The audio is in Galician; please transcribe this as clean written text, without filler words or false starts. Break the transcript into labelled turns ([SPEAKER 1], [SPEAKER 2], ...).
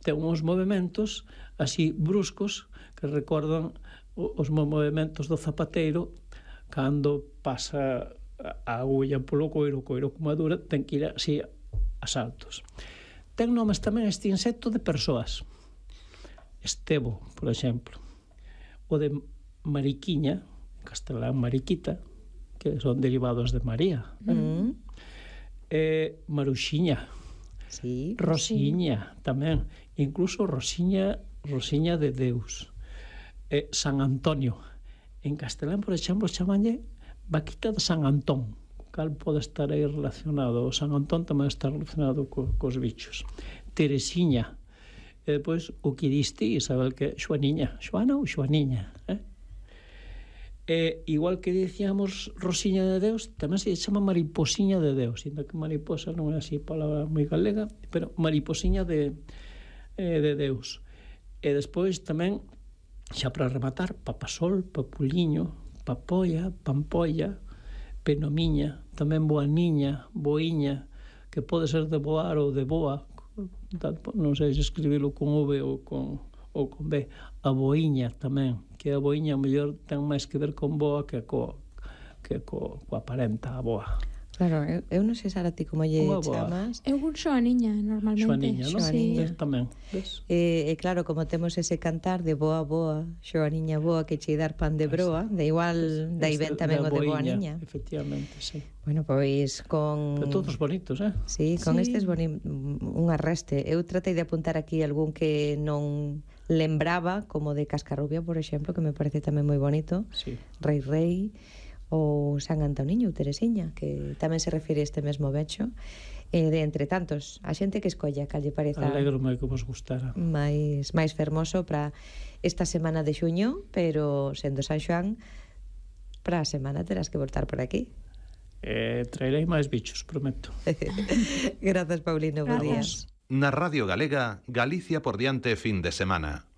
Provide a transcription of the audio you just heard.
[SPEAKER 1] ten uns movimentos así bruscos que recordan os movimentos do zapateiro cando pasa a agulla polo coiro, o coiro como dura, ten que ir así a saltos. Ten nomes tamén este insecto de persoas. Estebo, por exemplo. O de mariquiña, en castelán mariquita, que son derivados de María. Maruxiña.
[SPEAKER 2] Sí.
[SPEAKER 1] Rosiña, tamén. Incluso Rosiña de Deus. San Antonio. En castelán, por exemplo, chamanlle vaquita de San Antón, cal pode estar aí relacionado. O San Antón tamén está relacionado cos bichos. Teresiña. E depois o que diste, Isabel, que Xoaniña. Xoana ou Xoaniña, igual que dicíamos Rosiña de Deus, tamén se chama mariposiña de Deus, ainda que mariposa non é así palabra moi galega, pero mariposiña de Deus. E despois tamén, xa para rematar, papasol, papuliño, papolla, pampolla, penomiña, tamén boaniña, boiña, que pode ser de boar ou de boa, non sei se escribilo con V ou con B. A boiña tamén, que a boiña mellor ten máis que ver con boa que coa parenta, a boa.
[SPEAKER 2] Claro, eu non sei, Sara, ti como lle chamas.
[SPEAKER 3] Eu Xoaniña, normalmente.
[SPEAKER 1] Xoaniña, non?
[SPEAKER 3] Sí.
[SPEAKER 1] Tamén, ves?
[SPEAKER 2] E claro, como temos ese cantar de boa boa, Xoaniña boa, que che dar pan de broa, de igual, dai ben tamén o de boaniña.
[SPEAKER 1] Efectivamente, sí.
[SPEAKER 2] Bueno, pois con...
[SPEAKER 1] Pero todos bonitos,
[SPEAKER 2] Sí, con estes un arreste. Eu tratei de apuntar aquí algún que non lembraba, como de Cascarrubia, por exemplo, que me parece tamén moi bonito.
[SPEAKER 1] Sí.
[SPEAKER 2] Rei, ou San Antoniño, ou Teresiña, que tamén se refire a este mesmo becho. De entre tantos, a xente que escolla, cal lle pareza
[SPEAKER 1] alegro-me que vos gustara
[SPEAKER 2] máis fermoso para esta semana de xuño, pero sendo San Xoán, para a semana terás que voltar por aquí.
[SPEAKER 1] Traerei máis bichos, prometo.
[SPEAKER 2] Grazas, Paulino, bo días.
[SPEAKER 4] Na Radio Galega, Galicia por diante fin de semana.